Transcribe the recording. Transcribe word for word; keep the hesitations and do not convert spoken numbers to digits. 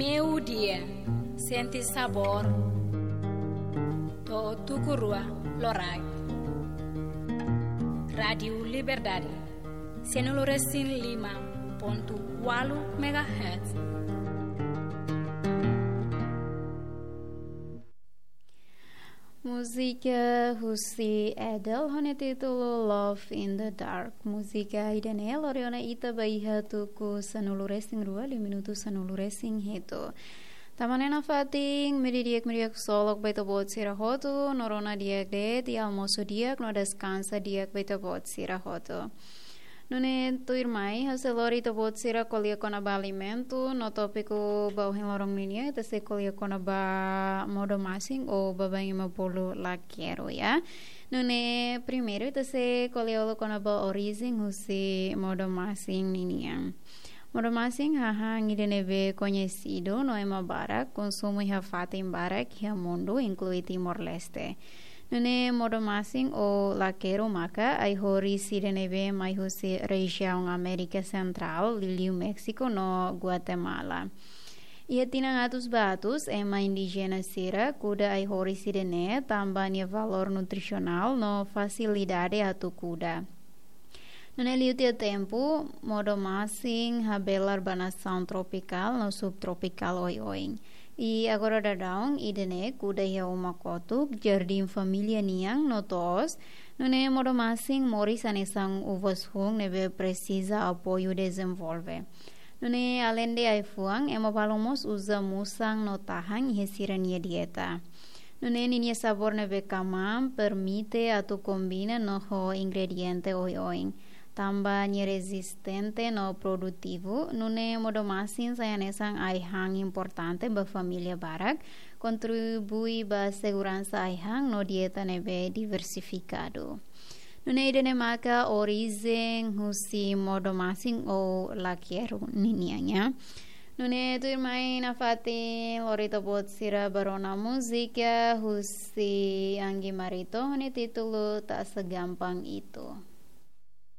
Meiudia, sente sabór. To'o tuku rua loraik. Rádiu Liberdade, sanulu-resin-lima pontu ualu megahertz. Múzika husi Adele ho nia títulu Love in the Dark. Múzika ida-ne'e lori ona ita ba iha tuku sanulu-resin-rua liu minutu sanulu-resin-hitu. Tanba ne'e nafatin, meiudia di'ak, meiudia di'ak ksolok ba ita-boot sira hotu, no rona di'ak de'it, almosu di'ak, no deskansa di'ak ba ita-boot sira hotu. Nune'e tuirmai, ha'u sei lori ita-boot sira ko'alia kona-ba alimentu, no tópiku ba ohin loron ninian, ita sei ko'alia kona-ba modo-masin ou baibain ema bolu lakeru, ya. Nune'e primeiru, ita sei ko'alia kona-ba orijen husi modo-masin ninian. Modo-masin hahán ida ne'ebé koñesidu no ema barak konsumu iha fatin barak iha mundu, inklui Timor-Leste. Nune'e modo-masin ou lakeru maka ai-horis ida ne'ebé mai husi rejiaun Amérika Sentrál, liuliu Méxiku no Guatemala. Iha tinan atus ba atus, ema indíjena sira kuda ai-horis ida-ne'e tanba nia valór nutrisionál no fasilidade atu kuda. Nune'e liu tiha tempu, modo-masin habelar ba nasaun tropikál no subtropikál oioin. I agora daudaun ida-ne'e kuda iha uma kotuk, jardín família nian no to'os. Nune'e modo-masin moris hanesan uvas-hun ne'ebé presiza apoiu dezenvolve. Nune'e aleinde ai-fuan, ema balun mós uza musan no tahan iha sira-nia dieta. Nune'e ninia sabór ne'ebé kamaan permite atu kombina no ho ingrediente oioin. Tanba nia rezistente no produtivu, nune'e modo-masin sai hanesan ai-han importante ba família barak, kontribui ba seguransa ai-han no dieta ne'ebé diversifikadu. Nune'e ida-ne'e maka orijen husi modo-masin ou lakeru ninian, ya. Nune'e tuirmai nafatin lori ita-boot sira ba rona múzika husi Anggi Marito ho nia títulu Tak Segampang Itu.